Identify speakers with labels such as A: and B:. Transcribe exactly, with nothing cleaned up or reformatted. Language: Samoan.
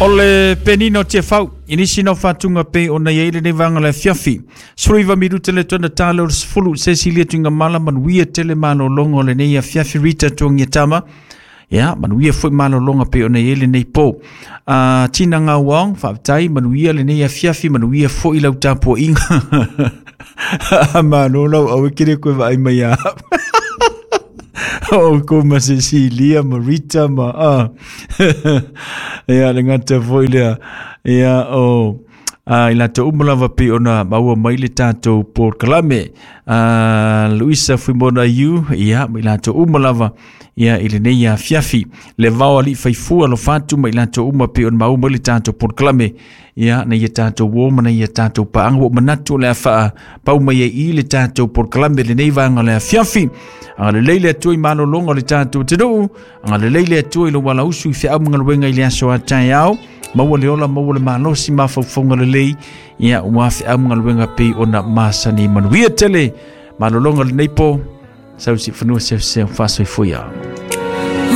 A: O le penina o Tiafau, i nisi na o faatuga pei ona i ai lenei vaega o le afiafi. Sefuluiva minute le tona tala o le sefulu, Cecilia Tuigamala, manuia tele malologa o lenei afiafi. Rita Tuagiatama, ia, manuia foi malologa pei ona i ai lenei po. Uh, Tina Ngauang, faafetai, manuia lenei afiafi, manuia foi lau tapuaiga. Malo lau au e kere koe vaai mai a. O ko ma Cecilia, ma Rita, ma ah. Ia, le gata foi lea. Ia, o a i latou uma lava pei ona maua mai le tatou polokalame. Uh, Luisa Fuimona Yu, ia, ma i latou uma lava, ia, i lenei afiafi. Le vao alii faifua lo fatu ma i latou uma pei ona maua mai le tatou polokalame. Ia, na ia tatou uo ma na ia tatou paaga. Ua manatu o le a faapau mai ai i le tatou polokalame lenei vaega o le afiafi. Agalelei le Atua i malologa o le tatou atunuu. Agalelei le Atua i lou alausu i feau ma galuega i le aso a taeao. Maua le ola, maua le malosi, mafaufauga lelei. Ia, ua feau ma galuega pei ona masani. Manuia tele malologa lenei po. Sausi fanua seuseu faasoifua.